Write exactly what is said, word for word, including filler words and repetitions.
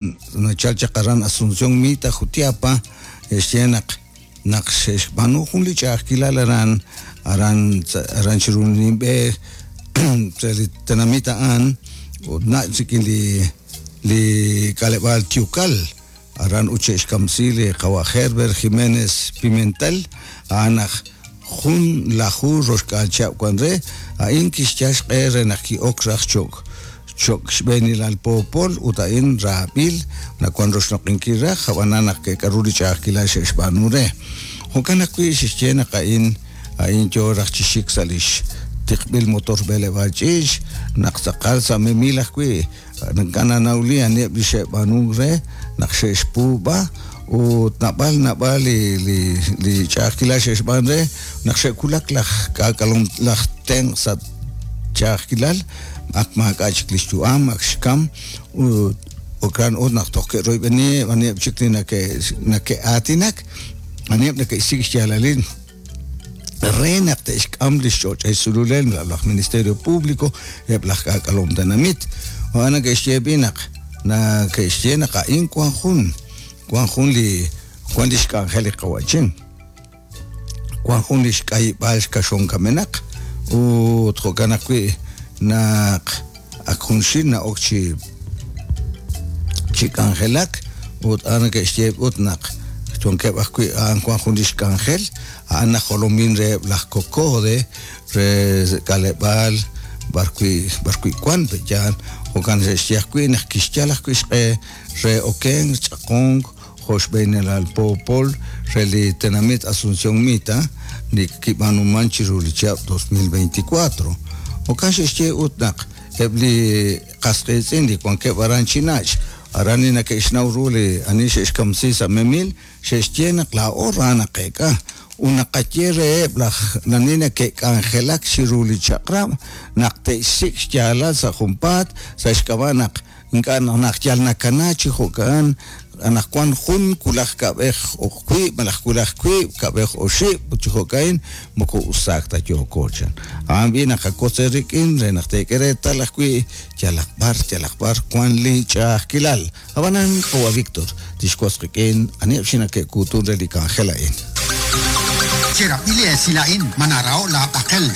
Nachal chaq aran Asunción Mita, Jutiapa, xye naq naq xe'xb'aanu jun li ch'a'ajkilal aran aran aran chiru nimb'e re li tenamit a'an ut nach' rik'in li li k'aleb'aal Tiukal aran ut xe'xkamsi li qawa' Herbert Jiménez Pimentel a'an aj jun laju roxk'aal chihab' wan re a'in kixyal xq'e re naq ki'ok raj cho'q cho'q xb'eenilal poopol ut a'in raab'il nawan roxloq'inkil raj ab'anan naq ke'k'aru li ch'a'ajkilal xe'xb'aanu re jo'kan ajwi' xe'xye naq a'in a'in yo raj chi xik sa' lix tiqb'il motor b'eleb'aal ch'iich naq tz'aqal sa' memil ajwi' ink'a' nanawli aniheb' li xe'b'aanunk re naq xe'xpuub'a ut naab'al naab'al li li li ch'a'ajkilal xe'xb'aan re naq xe'wulak laj k'aak'alom laj tenq' sa' ch'a'ajkilal ak maak'a' chik li xyu'am ak xkam ut jo'kan ut naq toj ke'royb'eni aniheb' chik li nake' nake'aatinak aniheb' neke'xsik' xyaalalil re naq te'xk'am li xch'och'el sululel laj Ministerio Público eb' laj k'aak'alom tenamit a'an neke'xye b'i naq nake'xye naq a'in wan jun wan jun li wan li xk'anjel li qawa'chin wan jun li xk'ayib'aal xkaxon kamenaq ut jo'kan ajwi' naq ak junxil na'ok chi chi k'anjelak ut a'an neke'xye ut naq wankeb' ajwi' a'an wan jun li xk'anjel a'an najolomin reheb' laj Cocode re k'aleb'aal b'arwi' b'arwi' wan pe'yaal jo'kan xe'xye ajwi' naq kixyal ajwi' xq'e re okenk ch'aqonk jo' xb'eenilal poopol re li tenamit Asunción Mita li kib'aanuman chiru li chihab' dos mil veinticuatro jo'kan xe'xye ut naq eb' li qas qiitz'in li wankeb' aran chi nach' aran li neke'xnaw ru li ani xe'xkamsi sa' memil xe'xye naq laa'o ra naqeek'a ut naqaye reheb' laj nani neke'k'anjelak chiru li chaq'rab' naq te'xsik' xyaalal sa' junpaat sa' xk'ab'a' naq ink'a' naq yal nakana chi jo'kan anaqwan jun wulaj kab'ej wiib' malaj wulaj wiib' kab'ej oxib' ut chi jo'ka'in moko usaak ta yooko chan a'an b'i naqakotz rik'in re naq teek'e reetal ajwi' yalaq b'ar yalaq b'ar wan li ch'a'ajkilal ab'anan qawa' Víctor tixwotz qik'in aniheb' xi nake'kuutun re li k'anjel a'in. Cherab'ili esil a'in manarao' laab'aqel